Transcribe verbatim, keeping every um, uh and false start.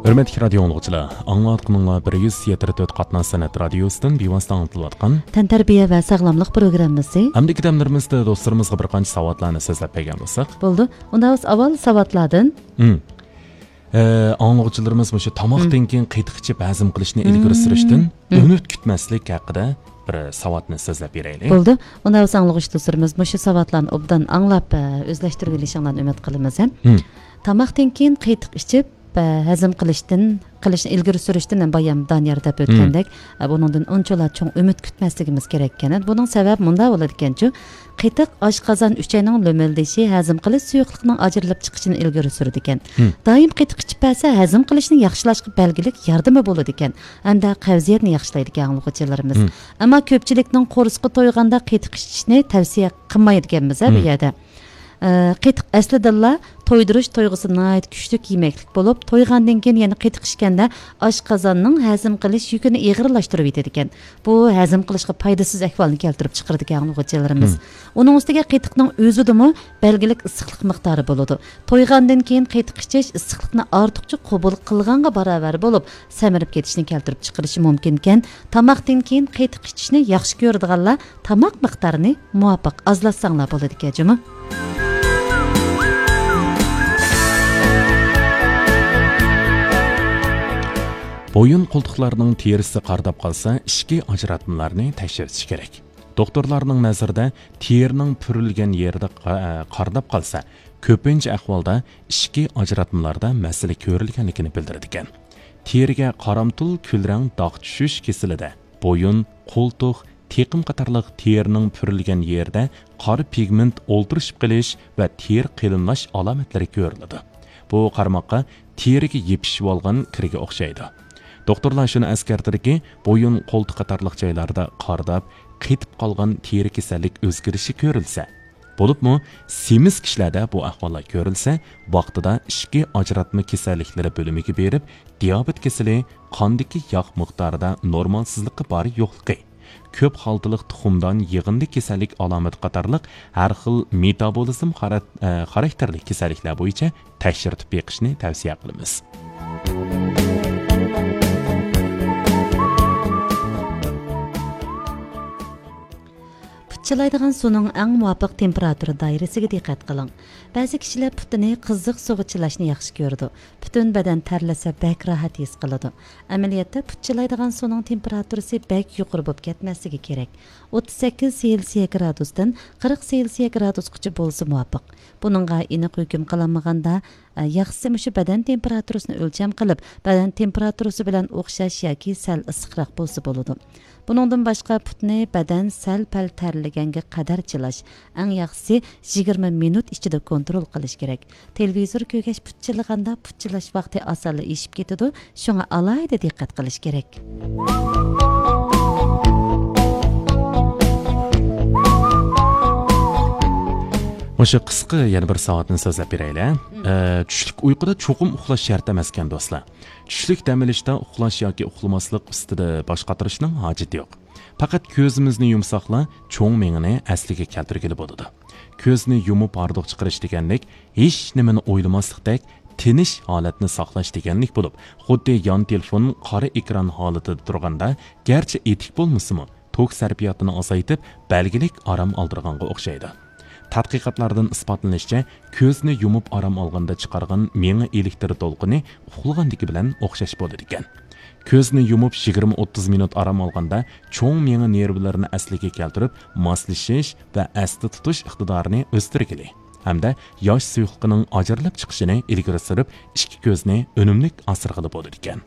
ھۆرمەتلىك رادىيو ئاڭلىغۇچىلار، ئاڭلاۋاتقىنىڭلار بىر يۈز يەتتە تۆت قاتناش سەنئەت رادىيوسىدىن بىۋاسىتە ئاڭلىتىلىۋاتقان تەنتەربىيە ۋە ساغلاملىق پروگراممىسى. ئەمدىكى دەملىرىمىزدە دوستلىرىمىزغا بىر قانچە ساۋاتلارنى سۆزلەپ بەرگەن بولساق. بولدى. ئۇندا بىز ئاۋۋال ساۋاتلاردىن. ئە، ئاڭلىغۇچىلىرىمىز مۇشۇ تاماقتىن كېيىن قېتىق ئىچىپ ھەزىم قىلىشنى ئىلگىرى سۈرۈشتىن ئۈمىد كۈتمەسلىك ھەققىدە بىر ساۋاتنى سۆزلەپ بېرەيلى. بولدى. ئۇندا بىز ئاڭلىغۇچى دوستلىرىمىز مۇشۇ ساۋاتلارنى ئوبدان ئاڭلاپ، ئە، ئۆزلەشتۈرۈۋېلىشىڭلارنى ئۈمىد قىلىمىز، ھە. تاماقتىن كېيىن قېتىق ئىچىپ، ئە، ھەزىم قىلىشتىن، قىلىشنى ئىلگىرى سۈرۈشتىن، بايام دانىيار دەپ ئۆتكەندەك، ئە، بۇنىڭدىن ئۇنچىلا چوڭ ئۈمىد كۈتمەسلىكىمىز كېرەككەن. بۇنىڭ سەۋەبى مۇنداق بولىدىكەنچۇ، قېتىق ئاشقازان ئۈچەينىڭ لۆمۈلدىشى، ھەزىم قىلىش سۇيۇقلۇقىنىڭ ئاجرىلىپ چىقىشىنى ئىلگىرى سۈرىدىكەن. دائىم قېتىق ئىچىپ بەرسە، ھەزىم قىلىشنى ياخشىلاشقا بەلگىلىك ياردىمى بولىدىكەن ھەمدە قەۋزىيەتنى ياخشىلايدىكەن ئاڭلىغۇچىلىرىمىز. ئەمما كۆپچىلىكنىڭ قورسىقى تويغاندا قېتىق ئىچىشنى تەۋسىيە قىلمايدىكەنمىز، ھە، بۇ يەردە. ئە، قېتىق ئەسلىدىنلا تويدۇرۇش تۇيغۇسى ناھايىتى كۈچلۈك يېمەكلىك بولۇپ، تويغاندىن كېيىن يەنە قېتىق ئىچكەندە ئاشقازاننىڭ ھەزىم قىلىش يۈكىنى ئېغىرلاشتۇرۇۋېتىدىكەن. بۇ ھەزىم قىلىشقا پايدىسىز ئەھۋالنى كەلتۈرۈپ چىقىرىدىكەن ئاڭلىغۇچىلىرىمىز. ئۇنىڭ ئۈستىگە قېتىقنىڭ ئۆزىدىمۇ بەلگىلىك ئىسسىقلىق مىقدارى بولىدۇ. تويغاندىن كېيىن قېتىق ئىچىش ئىسسىقلىقنى ئارتۇقچە قوبۇل قىلغانغا باراۋەر بولۇپ، سەمرىپ كېتىشنى كەلتۈرۈپ چىقىرىشى مۇمكىنكەن، تاماقتىن كېيىن قېتىق ئىچىشنى ياخشى كۆرىدىغانلار تاماق مىقدارىنى مۇۋاپىق ئازلاتساڭلار بولىدىكەن جۇمۇ. بويۇن قولتۇقلارنىڭ تېرىسى قارىداپ قالسا، ئىچكى ئاجراتمىلارنى تەكشۈرتۈش كېرەك. دوختۇرلارنىڭ نەزىرىدە، تېرىنىڭ پۈرۈلگەن يېرىدە قا-، قارىداپ قالسا، كۆپىنچە ئەھۋالدا ئىچكى ئاجراتمىلاردا مەسىلە كۆرۈلگەنلىكىنى بىلدۈرىدىكەن. تېرىگە قارامتۇل كۈلرەڭ داغ چۈشۈش كېسىلىدە، بويۇن، قولتۇق، تېقىم قاتارلىق تېرىنىڭ پۈرۈلگەن يېرىدە قارا پىگمېنت ئولتۇرۇشۇپ قېلىش ۋە تېرە قېلىنلاش ئالامەتلىرى كۆرۈلىدۇ. بۇ قارىماققا تېرىگە يېپىشىۋالغان كىرگە ئوخشايدۇ. دوختۇرلار شۇنى ئەسكەرتىدۇكى، بويۇن، قولتۇق قاتارلىق جايلاردا قارىداپ، قېتىپ قالغان تېرە كېسەللىك ئۆزگىرىشى كۆرۈلسە، بولۇپمۇ سېمىز كىشىلەردە بۇ ئەھۋاللار كۆرۈلسە، ۋاقتىدا ئىچكى ئاجراتما كېسەللىكلىرى بۆلۈمىگە بېرىپ، دىيابېت كېسىلى، قاندىكى ياغ مىقدارىدا نورمالسىزلىقى بار يوقلۇقى، كۆپ خالتىلىق تۇخۇمدان يىغىندى كېسەللىك ئالامىتى قاتارلىق ھەر خىل مېتابولىزم خارا-، ئە، خاراكتېرلىك كېسەللىكلەر بويىچە تەكشۈرتۈپ بېقىشنى تەۋسىيە قىلىمىز. پۇت چىلايدىغان سۇنىڭ ئەڭ مۇۋاپىق تېمپېراتۇرا دائىرىسىگە دىققەت قىلىڭ. بەزى كىشىلەر پۇتىنى قىزىق سۇغا چىلاشنى ياخشى كۆرىدۇ. پۈتۈن بەدەن تەرلىسە بەك راھەت ھېس قىلىدۇ. ئەمەلىيەتتە پۇت چىلايدىغان سۇنىڭ تېمپېراتۇرىسى بەك يۇقىرى بولۇپ كەتمەسلىكى كېرەك. ئوتتۇز سەككىز سېلسىيە گرادۇستىن قىرىق سېلسىيە گرادۇسقىچە بولسا مۇۋاپىق. بۇنىڭغا ئېنىق ھۆكۈم قىلالمىغاندا، ئە، ياخشىسى مۇشۇ بەدەن تېمپېراتۇرىسىنى ئۆلچەم قىلىپ، بەدەن تېمپېراتۇرىسى بىلەن ئوخشاش ياكى سەل ئىسسىقراق بولسا بولىدۇ. بۇنىڭدىن باشقا پۇتنى بەدەن سەل-پەل تەرلىگەنگە قەدەر چىلاش، ئەڭ ياخشىسى يىگىرمە مىنۇت ئىچىدە كونترول قىلىش كېرەك. تېلېۋىزور كۆرگەچ پۇت چىلىغاندا پۇت چىلاش ۋاقتى ئاسانلا ئېشىپ كېتىدۇ، شۇڭا ئالاھىدە دىققەت قىلىش كېرەك. مۇشۇ قىسقا يەنە بىر ساۋاتنى سۆزلەپ بېرەيلى. ئە، چۈشلۈك ئۇيقۇدا چوقۇم ئۇخلاش شەرت ئەمەسكەن، دوستلار. چۈشلۈك دەم ئېلىشتا ئۇخلاش ياكى ئۇخلىماسلىق ئۈستىدە باش قاتۇرۇشنىڭ ھاجىتى يوق. پەقەت كۆزىمىزنى يۇمساقلا، چوڭ مېڭىنى ئەسلىگە كەلتۈرگىلى بولىدۇ. كۆزنى يۇمۇپ ھاردۇق چىقىرىش دېگەنلىك، ھېچ نېمىنى ئويلىماسلىقتەك تىنچ ھالەتنى ساقلاش دېگەنلىك بولۇپ، خۇددى يان تېلېفون قارا ئېكران ھالىتىدە تۇرغاندا، گەرچە ئېتىك بولمىسىمۇ، توك سەرپىياتىنى ئازايتىپ، بەلگىلىك ئارام ئالدۇرغانغا ئوخشايدۇ. تەتقىقاتلاردىن ئىسپاتلىنىشىچە، كۆزنى يۇمۇپ ئارام ئالغاندا چىقارغان مېڭە ئېلېكتر دولقۇنى ئۇخلىغاندىكى بىلەن ئوخشاش بولىدىكەن. كۆزنى يۇمۇپ يىگىرمە ئوتتۇز مىنۇت ئارام ئالغاندا، چوڭ مېڭە نېرۋىلىرىنى ئەسلىگە كەلتۈرۈپ، ماسلىشىش ۋە ئەستە تۇتۇش ئىقتىدارىنى ئۆستۈرگىلى ھەمدە ياش سۇيۇقلۇقىنىڭ ئاجرىلىپ چىقىشىنى ئىلگىرى سۈرۈپ، ئىككى كۆزنى ئۈنۈملۈك ئاسرىغىلى بولىدىكەن.